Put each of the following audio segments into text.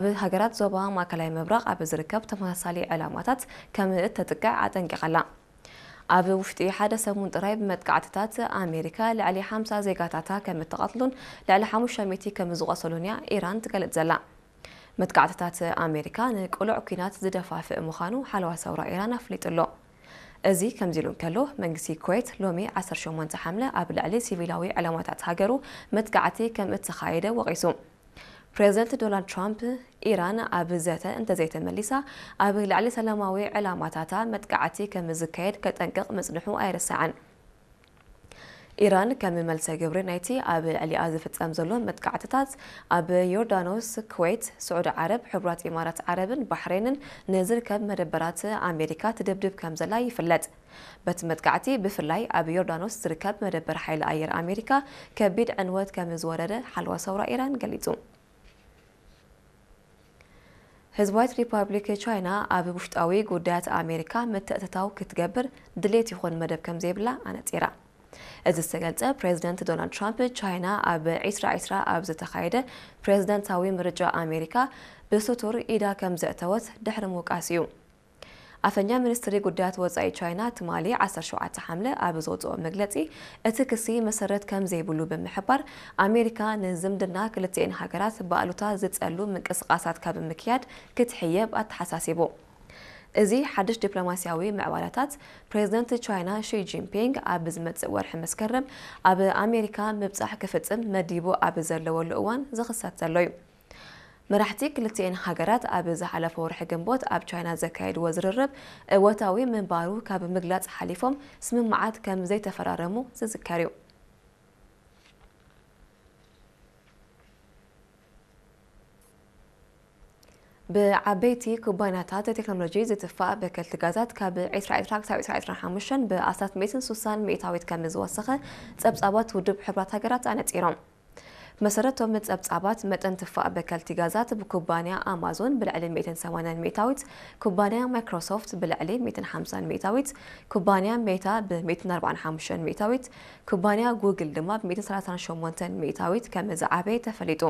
ኣብ ሃገራት ዞባ ማእከላይ ምብራቕ ኣብ ዝርከብ ተመሳሳሊ ዕላማታት ከም እተጥቅዕ ኣጠንቂቓ ኣላ። ኣብ ውሽጢ ሓደ ሰሙን ጥራይ ብመጥቃዕትታት ኣሜሪካ ልዕሊ ሓምሳ ዜጋታታ ከም እተቐትሉን ልዕሊ ሓሙሽተ ሚእቲ ከም ዝቖሰሉን እያ ኢራን ትገልጽ ዘላ። መጥቃዕትታት ኣሜሪካ ንቅሉዕ ኲናት ዝደፋፍእ ምዃኑ ሓለዋ ሰውራ ኢራን ኣፍሊጡ ኣሎ። እዚ ከምዚ ኢሉ እንከሎ፣ መንግስቲ ኩዌት ሎሚ ዓሰርተ ሸሞንተ ሓምለ ኣብ ልዕሊ ሲቪላዊ ዕላማታት ሃገሩ መጥቃዕቲ ከም እተኻየደ ወቒሱ። ፕሬዚደንት ዶናልድ ትራምፕ፣ ኢራን ኣብ ዘተ እንተዘይተመሊሳ፣ ኣብ ልዕሊ ሰላማዊ ዕላማታታ መጥቃዕቲ ከም ዝካየድ ከጠንቅቕ ምጽንሑ ኣይርሳዕን። ኢራን ከም መልሰ ግብሪ ናይቲ ኣብ ልዕሊኣ ዝፍጸም ዘሎ መጥቃዕትታት፣ ኣብ ዮርዳኖስ፣ ኩዌት፣ ስዑዲ ዓረብ፣ ሕቡራት ኢማራት ዓረብን ባሕሬንን ንዝርከብ መደበራት ኣሜሪካ ትድብድብ ከም ዘላ ይፍለጥ። በቲ መጥቃዕቲ፣ ብፍላይ ኣብ ዮርዳኖስ ዝርከብ መደበር ሓይሊ ኣየር ኣሜሪካ ከቢድ ዕንወት ከም ዝወረደ ሓለዋ ሰውራ ኢራን ገሊጹ። ህዝባዊት ሪፓብሊክ ቻይና ኣብ ውሽጣዊ ጉዳያት ኣሜሪካ ምትእትታው ክትገብር ድሌት ይኹን መደብ ከም ዘይብላ ኣነጺራ። እዚ ዝተገልጸ፣ ፕሬዚደንት ዶናልድ ትራምፕ ቻይና ኣብ ዒስራ ዒስራ ኣብ ዝተኻየደ ፕሬዚደንታዊ ምርጫ ኣሜሪካ ብስቱር ኢዳ ከም ዘእተወት ድሕሪ ምውቃስ እዩ። ኣፈኛ ሚኒስትሪ ጉዳያት ወጻኢ ቻይና ትማሊ ዓሰርተ ሸውዓተ ሓምለ ኣብ ዘውጽኦ መግለጺ፣ እቲ ክሲ መሰረት ከም ዘይብሉ ብምሕባር፣ ኣሜሪካ ንዝምድና ክልቲኤን ሃገራት ብኣሉታ ዝጸሉ ምንቅስቓሳት ካብ ምክያድ ክትሕየብ ኣተሓሳሲቡ። እዚ ሓድሽ ዲፕሎማስያዊ ምዕባለታት፣ ፕሬዚደንት ቻይና ሺ ጂንፒንግ ኣብ ዝመጽእ ወርሒ መስከረም ኣብ ኣሜሪካ ምብጻሕ ክፍጽም መዲቡ ኣብ ዘለወሉ እዋን ዝኽሰት ዘሎ እዩ። መራሕቲ ክልቲኤን ሃገራት ኣብ ዝሓለፈ ወርሒ ግንቦት ኣብ ቻይና ዘካየድዎ ዝርርብ እወታዊ ምንባሩ ካብ ምግላጽ ሓሊፎም፣ ስምምዓት ከም ዘይተፈራረሙ ዝዝከር እዩ። ብዓበይቲ ኩባንያታት ቴክኖሎጂ ዝትፋእ በከልቲ ጋዛት ካብ ዒስራ ዒስራ ክሳብ ዒስራ ዒስራ ሓሙሽተ ብኣስታት ሚእትን ሱሳን ሚእታዊት ከም ዝወሰኸ ጸብጻባት ውድብ ሕቡራት ሃገራት ኣነጺሮም። ብመሰረት እቶም ጸብጻባት፣ መጠን ትፋእ በከልቲ ጋዛት ብኩባንያ ኣማዞን ብልዕሊ ሚእትን ሰማንያን ሚእታዊት፣ ኩባንያ ማይክሮሶፍት ብልዕሊ ሚእትን ሓምሳን ሚእታዊት፣ ኩባንያ ሜታ ብሚእትን ኣርባዓን ሓሙሽተን ሚእታዊት፣ ኩባንያ ጉግል ድማ ብሚእትን ሰላሳን ሸሞንተን ሚእታዊት ከም ዝዓበየ ተፈሊጡ።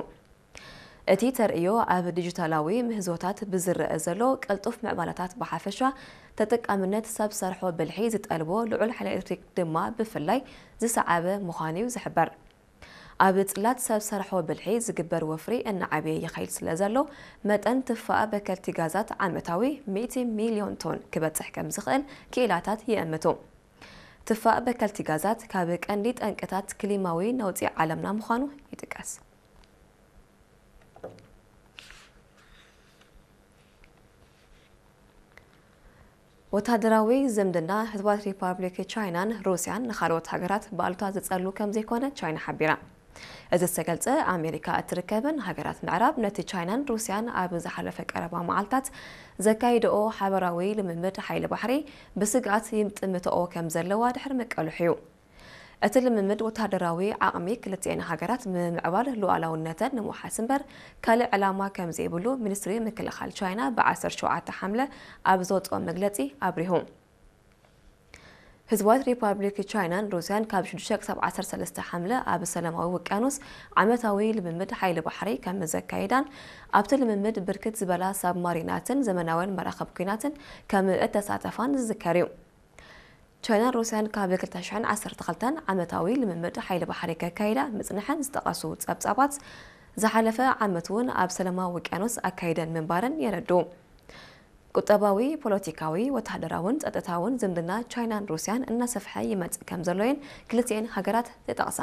እቲ ተርእዮ፣ ኣብ ዲጂታላዊ ምህዞታት ብዝረአ ዘሎ ቅልጡፍ ምዕባለታት ብሓፈሻ፣ ተጠቃምነት ሰብ ሰርሖ ብልሒ ዝጠልቦ ልዑል ሓይሊ ኤሌክትሪክ ድማ ብፍላይ ዝሰዓበ ምዃኑ እዩ ዝሕበር። ኣብ ጽላት ሰብ ሰርሖ ብልሒ ዝግበር ወፍሪ እናዓበየ ይኸይድ ስለ ዘሎ፣ መጠን ትፋእ በከልቲ ጋዛት ዓመታዊ ሚእቲ ሚልዮን ቶን ክበጽሕ ከም ዝኽእል ክኢላታት ይእምቱ። ትፋእ በከልቲ ጋዛት ካብ ቀንዲ ጠንቅታት ክሊማዊ ነውጺ ዓለምና ምዃኑ ይጥቀስ። ወታደራዊ ዝምድና ህዝባዊት ሪፓብሊክ ቻይናን ሩስያን ንኻልኦት ሃገራት ብኣሉታ ዝጸሉ ከም ዘይኮነ ቻይና ሓቢራ። እዚ ዝተገልጸ፣ ኣሜሪካ እትርከበን ሃገራት ምዕራብ ነቲ ቻይናን ሩስያን ኣብ ዝሓለፈ ቀረባ መዓልታት ዘካይድኦ ሓበራዊ ልምምድ ሓይሊ ባሕሪ ብስግኣት ይምጥምትኦ ከም ዘለዋ ድሕሪ ምቅልሑ እዩ። እቲ ልምምድ ወታደራዊ ዓቕሚ ክልቲኤን ሃገራት ንምምዕባል ሉዓላውነተን ንምውሓስ እምበር ካልእ ዕላማ ከም ዘይብሉ ሚኒስትሪ ምክልኻል ቻይና ብዓሰርተ ሸውዓተ ሓምለ ኣብ ዘውጽኦ መግለጺ ኣብሪሁ። ህዝባዊት ሪፓብሊክ ቻይናን ሩስያን ካብ ሽዱሽተ ክሳብ ዓሰርተ ሰለስተ ሓምለ ኣብ ሰላማዊ ውቅያኖስ ዓመታዊ ልምምድ ሓይሊ ባሕሪ ከም ዘካየዳን ኣብቲ ልምምድ ብርክት ዝበላ ሳብማሪናትን ዘመናውያን መራኸብ ኲናትን ከም እተሳተፋን ዝዝከር እዩ። ቻይናን ሩስያን ካብ ክልተ ሽሕን ዓሰርተ ክልተን ዓመታዊ ልምምድ ሓይሊ ባሕሪ ከካይዳ ምጽንሐን ዝጠቐሱ ጸብጻባት፣ ዝሓለፈ ዓመት እውን ኣብ ሰላማዊ ውቅያኖስ ኣካይደን ምንባረን የረድኡ። ቁጠባዊ፣ ፖለቲካዊ፣ ወተሃደራውን ጸጥታውን ዝምድና ቻይናን ሩስያን እናሰፍሐ ይመጽእ ከም ዘሎ እየን ክልቲኤን ሃገራት ዝጠቕሳ።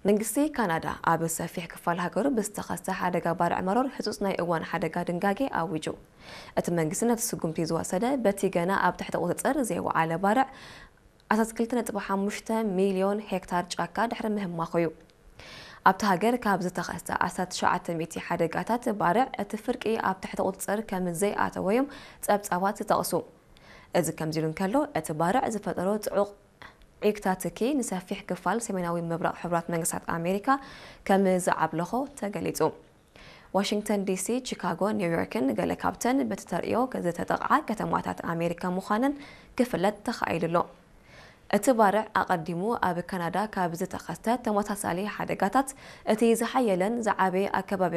መንግስቲ ካናዳ ኣብ ሰፊሕ ክፋል ሃገሩ ብዝተኸስተ ሓደጋ ባርዕ መሮር ህጹጽ ናይ እዋን ሓደጋ ድንጋጌ ኣዊጁ። እቲ መንግስቲ ነቲ ስጉምቲ ዝወሰደ በቲ ገና ኣብ ትሕቲ ቁጽጽር ዘይወዓለ ባርዕ ኣስታት ክልተ ነጥቢ ሓሙሽተ ሚልዮን ሄክታር ጫካ ድሕሪ ምህማኹ እዩ። ኣብቲ ሃገር ካብ ዝተኸስተ ኣስታት ትሽዓተ ሚእቲ ሓደጋታት ባርዕ እቲ ፍርቂ ኣብ ትሕቲ ቁጽጽር ከም ዘይኣተወ እዮም ጸብጻባት ዝጠቕሱ። እዚ ከምዚ ኢሉ እንከሎ፣ እቲ ባርዕ ዝፈጠሮ ጽዑቕ ዒግታ ትኪ ንሰፊሕ ክፋል ሰሜናዊ ምብራቕ ሕቡራት መንግስታት ኣሜሪካ ከም ዝዓብለኾ ተገሊጹ። ዋሽንግተን ዲሲ፣ ቺካጎ፣ ኒውዮርክን ገለ ካብተን በቲ ተርእዮ ዝተጠቕዓ ከተማታት ኣሜሪካ ምዃነን ክፍለጥ ተኻኢሉ ኣሎ። እቲ ባርዕ ኣቐዲሙ ኣብ ካናዳ ካብ ዝተኸስተ ተመሳሳሊ ሓደጋታት እቲ ዝሓየለን ዝዓበየ ኣከባብያዊ